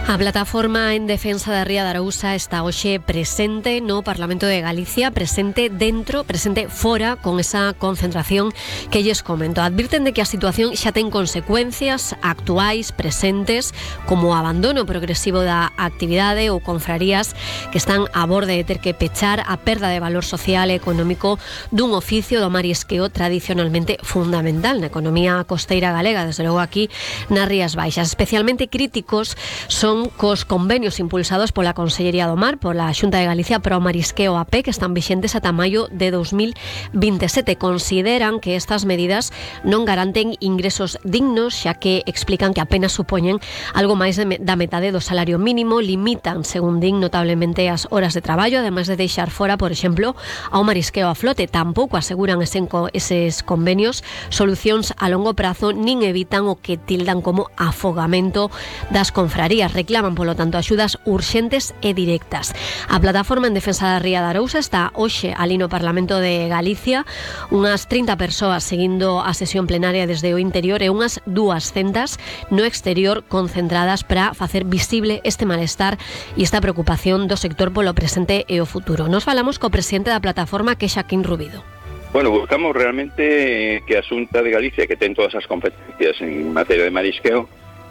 A plataforma en defensa da Ría de Arousa está hoxe presente no Parlamento de Galicia, presente fora, con esa concentración que lles comento. Advirten de que a situación xa ten consecuencias actuais, presentes, como o abandono progresivo da actividade ou confrarías que están a borde de ter que pechar, a perda de valor social e económico dun oficio do marisqueo tradicionalmente fundamental na economía costeira galega, desde logo aquí nas Rías Baixas. Especialmente críticos son cos convenios impulsados pola Consellería do Mar, pola Xunta de Galicia para o Marisqueo AP, que están vixentes ata maio de 2027. Consideran que estas medidas non garanten ingresos dignos, xa que explican que apenas supoñen algo máis da metade do salario mínimo, limitan, según din, notablemente as horas de traballo, ademais de deixar fora, por exemplo, ao marisqueo a flote. Tampouco aseguran eses convenios solucións a longo prazo, nin evitan o que tildan como afogamento das confrarías. Reclaman, polo tanto, axudas urxentes e directas. A plataforma en defensa da Ría de Arousa está hoxe ali no Parlamento de Galicia, unhas 30 persoas seguindo a sesión plenaria desde o interior e unhas 200 no exterior concentradas para facer visible este malestar e esta preocupación do sector polo presente e o futuro. Nos falamos co presidente da plataforma, que é Xaquín Rubido. Bueno, buscamos realmente que a Xunta de Galicia, que ten todas as competencias en materia de marisqueo,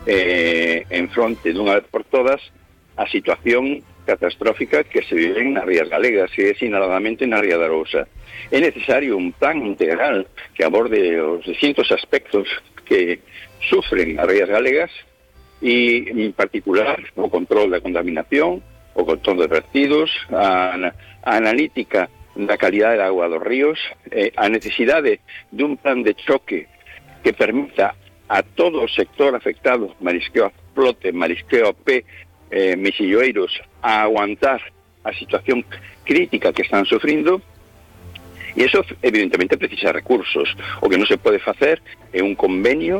enfronte dunha vez por todas a situación catastrófica que se vive nas Rías Galegas e sinaladamente na Ría de Arousa. É necesario un plan integral que aborde os distintos aspectos que sufren as Rías Galegas e, en particular, o control da contaminación, o control de vertidos, a analítica da calidade da agua dos ríos, a necesidade dun plan de choque que permita a todo o sector afectado, marisqueo a flote, marisqueo a pé, mexilloeiros, a aguantar a situación crítica que están sufrindo, e eso evidentemente precisa recursos. O que non se pode facer é un convenio